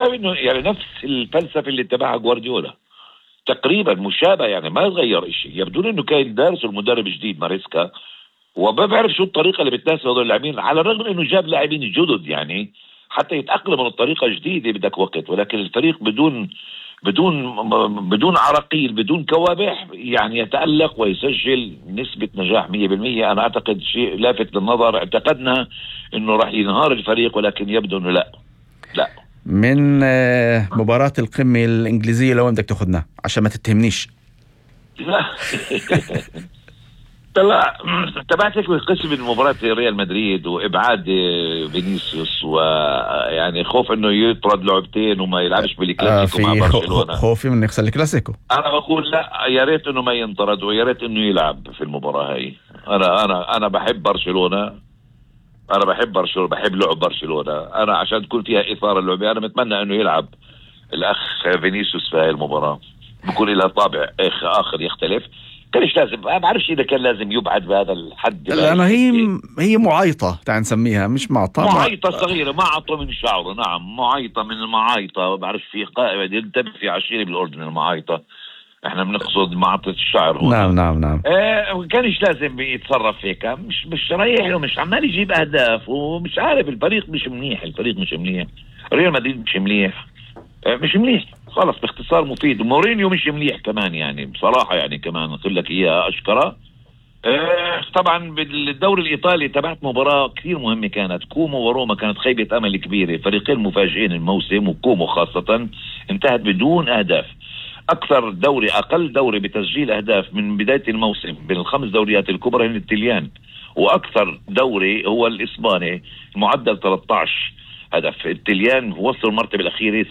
إنه يعني نفس الفلسفة اللي اتبعها جوارديولا تقريبا مشابه، يعني ما غير إشي. يبدو لي إنه كان دارس المدرب جديد ماريسكا، وما بعرف شو الطريقة اللي بتناسب هذول اللاعبين، على الرغم إنه جاب لاعبين جدد يعني حتى يتأقلموا الطريقة الجديدة بدك وقت، ولكن الفريق بدون عراقيل بدون كوابح يعني يتألق ويسجل نسبة نجاح 100%. أنا أعتقد شيء لافت للنظر، اعتقدنا إنه راح ينهار الفريق ولكن يبدو إنه لا. من مباراة القمة الإنجليزية لو بدك تاخذنا عشان ما تتهمنيش. لا طلع تبعت لك قسم من مباراة ريال مدريد وإبعاد فينيسيوس، ويعني خوف إنه يطرد لعبتين وما يلعبش بالكلاسيكو مع برشلونة. خوفي من يخسر الكلاسيكو. أنا بقول لا، يا ريت إنه ما ينطرد ويا ريت إنه يلعب في المباراة هاي. أنا بحب برشلونة، بحب لعب برشلونة. أنا عشان تكون فيها إثارة اللعبة أنا متمنى إنه يلعب الأخ فينيسيوس في هاي المباراة، بكون لها طابع آخر يختلف. كانش لازم، ما بعرفش إذا كان لازم يبعد بهذا الحد. لا هي معايطة تعال نسميها، مش معايطة صغيرة، معطة من شعره. نعم معايطة من المعايطة. بعرف في قائمة ينتبه في عشيرة بالأردن المعايطة، احنا بنقصد معطة الشعر هنا. نعم. كانش لازم يتصرف هيك، مش رايح ومش عمال يجيب أهداف ومش عارف. الفريق مش منيح، ريال مدريد مش منيح خلص. باختصار مفيد. مورينيو مش مليح كمان يعني بصراحة، يعني كمان قلت لك إياها أشكرا. طبعا بالدوري الإيطالي تبعت مباراة كثير مهمة، كانت كومو وروما، كانت خيبة أمل كبيرة، فريقين مفاجئين الموسم، وكومو خاصة انتهت بدون أهداف. أقل دوري بتسجيل أهداف من بداية الموسم بالخمس دوريات الكبرى من التليان، وأكثر دوري هو الإسباني المعدل 13 هدف. التليان وصلوا المرتبة الأخيرة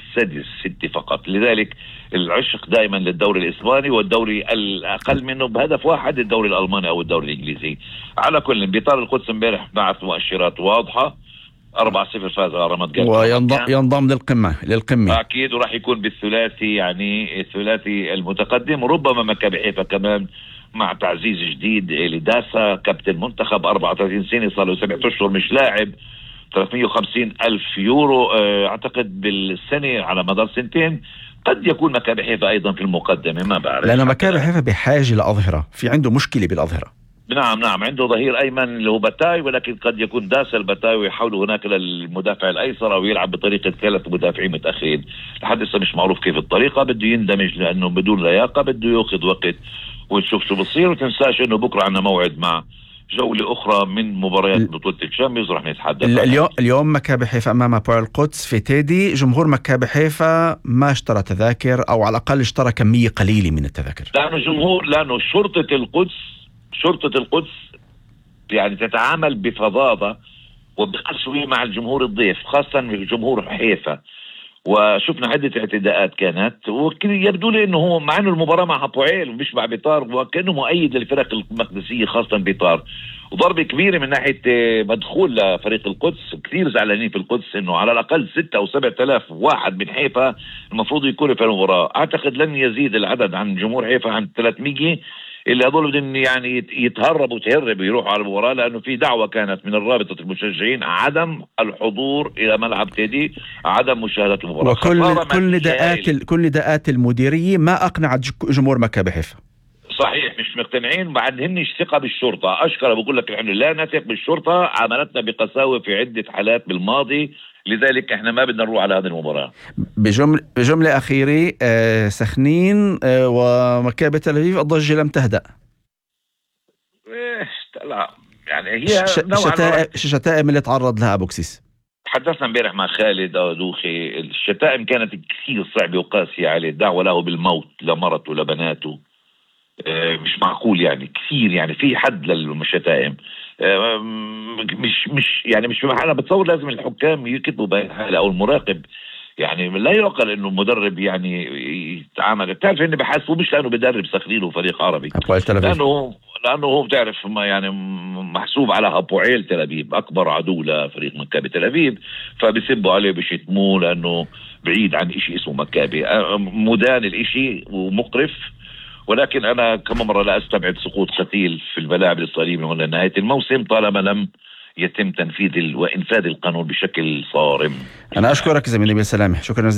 6 فقط. لذلك العشق دائما للدوري الإسباني، والدوري الأقل منه بهدف واحد الدوري الألماني أو الدوري الإنجليزي. على كل بيطار القدس امبارح بعث مؤشرات واضحة، 4-0 فاز على رمض جد، وينضم للقمة أكيد، وراح يكون بالثلاثي، يعني الثلاثي المتقدم. ربما مكابي حيفا كمان مع تعزيز جديد لداسا كابتن منتخب 34 سنة، صار له 7 أشهر مش لاعب، 350 ألف يورو أعتقد بالسنة على مدار سنتين. قد يكون مكابي حيفا أيضا في المقدمة، ما بعرف، لأنه مكابي حيفا بحاجة لأظهرة، في عنده مشكلة بالأظهرة. نعم عنده ظهير أيمن اللي هو باتاي، ولكن قد يكون داس الباتاي ويحول هناك للمدافع الأيسر أو يلعب بطريقة 3 مدافعين متأخرين. لحد هسه مش معروف كيف الطريقة، بده يندمج لأنه بدون لياقة، بده يأخذ وقت ونشوف شو بصير. وتنساش إنه بكرة عنا موعد مع جولة أخرى من مباريات بطولة الشامبيونز رح نتحدث. اليوم مكابي حيفا أمام بوار القدس في تيدي. جمهور مكابي حيفا ما اشترى تذاكر، أو على الأقل اشترى كمية قليلة من التذاكر، لأنه شرطة القدس يعني تتعامل بفظاظة وبقسوة مع الجمهور الضيف، خاصة جمهور حيفا. وشفنا عدة اعتداءات كانت، يبدو لي انه هو مع انه المباراة مع هابويل ومش مع بيطار، وكأنه مؤيد للفرق المقدسية خاصة بيطار، وضربة كبيرة من ناحية مدخول لفريق القدس. كثير زعلانين في القدس انه على الاقل 6 أو 7 آلاف واحد من حيفا المفروض يكونوا في المباراة. اعتقد لن يزيد العدد عن جمهور حيفا عن 300 اللي هذول بدهم يعني يتهربوا ويروحوا على المباراة، لأنه في دعوة كانت من الرابطة المشجعين عدم الحضور إلى ملعب تيدي، عدم مشاهدة المباراة. وكل نداءات المديرية ما أقنعت جمهور مكابي حيفا. صحيح، مش مقتنعين، ما عندهمش ثقة بالشرطة. أشكر بقول لك نحن لا نثق بالشرطة، عاملتنا بقساوة في عدة حالات بالماضي، لذلك احنا ما بدنا نروح على هذه المباراة. بجملة أخيرة، سخنين ومكابي تل أبيب الضجة لم تهدأ. لا يعني هي الشتائم اللي تعرض لها أبوكسيس. تحدثنا امبارح مع خالد دوخي، الشتائم كانت كثير صعبة وقاسية عليه، الدعوة له بالموت لمرته لبناته، مش معقول يعني كثير، يعني في حد للشتائم، مش في محلها. بتصور لازم الحكام يكتبوا بهالحالة أو المراقب، يعني لا يعقل انه المدرب يعني يتعامل. بتعرف انه بحاسبه مش لانه بدرب سخليل فريق عربي، لانه هو بتعرف يعني محسوب على هابوعيل تل أبيب، اكبر عدو لفريق مكابي تل أبيب، فبيسبوا عليه بيشتموه لانه بعيد عن اشي اسمه مكابي. مدان الاشي ومقرف، ولكن انا كم مرة لا استبعد سقوط قتيل في الملاعب الإسرائيلية من نهاية الموسم طالما لم يتم تنفيذ وإنفاذ القانون بشكل صارم. أنا أشكرك زميلي نبيل سلامة، شكرا جزيلا.